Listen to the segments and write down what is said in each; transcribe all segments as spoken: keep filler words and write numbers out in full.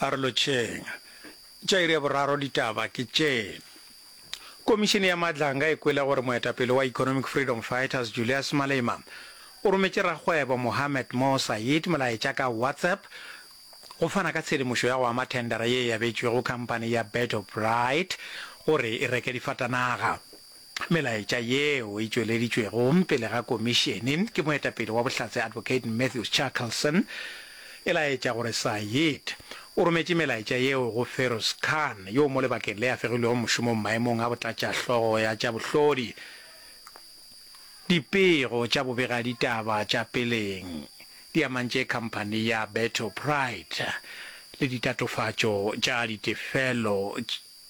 A re lotšheng. Tša iri ya boraro ditaba ke tše. Komišene ya Madlanga e kwele gore moetapele wa Economic Freedom Fighters Julius Malema o rometše rakgwebo Mohammed Mo Said molaetša ka WhatsApp go fana ka tshedimošo ya go ama thendara ye e abetšwego khamphani ya Beto Pride gore e reke difatanaga. Melaetša yeo e tšweleditšwego pele ga komišene ke moetapele wa bohlatse Advocate Matthews Chaskalson e laetša gore Said o rometše melaetša yeo go Feroz Khan yo mo lebakeng le a fegilwego mošomong maemong a botlatšahlogo ya tša bohlodi. Dipego tša bobegaditaba tša peleng di amantše khamphani ya Beto Pride le ditatofatšo tša ditefelo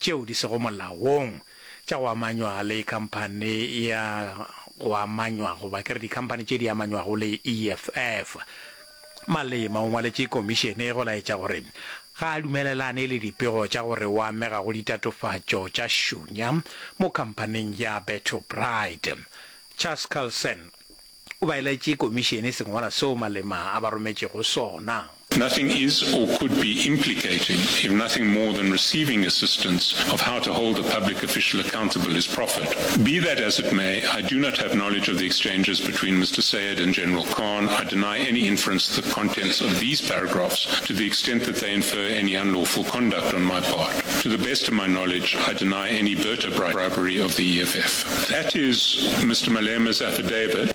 tšeo di sego molaong tša go amanywa le khamphani ya go amanywa goba ke re dikhamphani tše di amanywago le E F F. Malema o ngwaletše komišene go laetša gore ga a dumelelane le dipego tša gore o amega go ditatofatšo tša šunya mo khamphaning ya Beto Pride. Chaskalson o baeletše komišene sengwalwa seo Malema a ba rometšego sona. Nothing is or could be implicating if nothing more than receiving assistance of how to hold a public official accountable is proffered. Be that as it may, I do not have knowledge of the exchanges between Mister Sayed and General Khan. I deny any inference to the contents of these paragraphs to the extent that they infer any unlawful conduct on my part. To the best of my knowledge, I deny any Berta bribery of the E F F. That is Mister Malema's affidavit.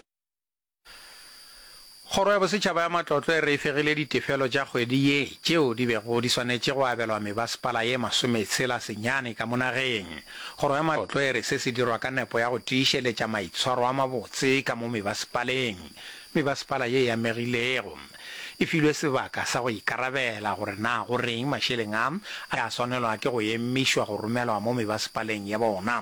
Kgoro ya Bosetšhaba ya Matlotlo e re e fegile ditefelo tša kgwedi ye tšeo di bego di swanetše go abelwa mebasepala ye masometshela senyane ka mo nageng. Kgoro ya Matlotlo e re se se dirwa ka nepo ya go tiišeletša maitshwaro a mabotse ka mo mebasepaleng. Mebasepala ye e amegilego e filwe sebaka sa go ikarabela gore na go reng mašeleng a a swanelwa ke go emišwa go romelwa mo mebasepaleng ya bona.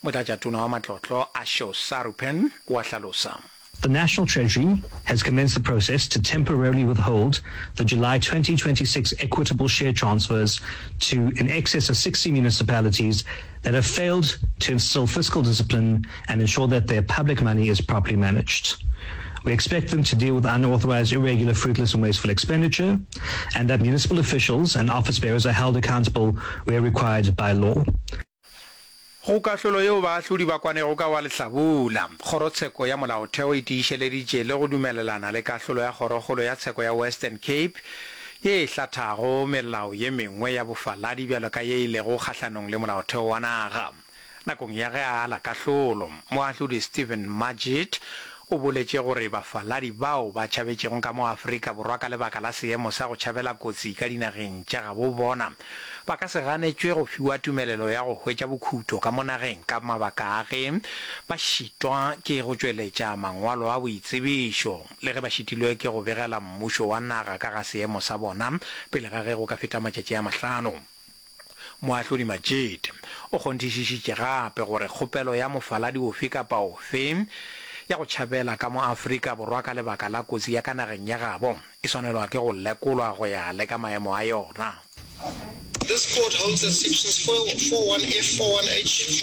Motlatšatona wa Matlotlo Asho Sarupen o a hlalosa. The National Treasury has commenced the process to temporarily withhold the July twenty twenty-six equitable share transfers to in excess of sixty municipalities that have failed to instill fiscal discipline and ensure that their public money is properly managed. We expect them to deal with unauthorized, irregular, fruitless and wasteful expenditure, and that municipal officials and office bearers are held accountable where required by law. Go kahlolo yeo baahlodi ba kwanego ka wa lehlabula, Kgorotsheko ya Molaotheo e tiišeleditše le go dumelelana le kahlolo ya Kgorokgolo ya Tsheko ya Western Cape ye e hlathago melao ye mengwe ya bofaladi bjalo ka ye e lego kgahlanong le molaotheo wa naga. Nakong ya ge a ala kahlolo, Moahlodi Steven Majiedt o boletše gore bafaladi bao ba tšhabetšego ka mo Afrika Borwa ka lebaka la seemo sa go tšhabela kotsi ka dinageng tša gabo bona ba ka se ganetšwe go fiwa tumelelo ya go hwetša bokhuto ka mo nageng ka mabaka a ge ba šitwa ke go tšweletša mangwalo a boitsebišo le ge ba šitilwe ke go begela mmušo wa naga ka ga seemo sa bona pele ga ge go ka feta matšatši a mahlano. Moahlodi Majiedt o kgonthišišitše gape gore kgopelo ya mofaladi ofe kapa ofe ya go tšhabela ka mo Afrika Borwa ka lebaka la kotsi ya ka nageng ya gabo e swanelwa ke go lekolwa go ya le ka maemo a yona. This court holds that sections four, four one F, four one H,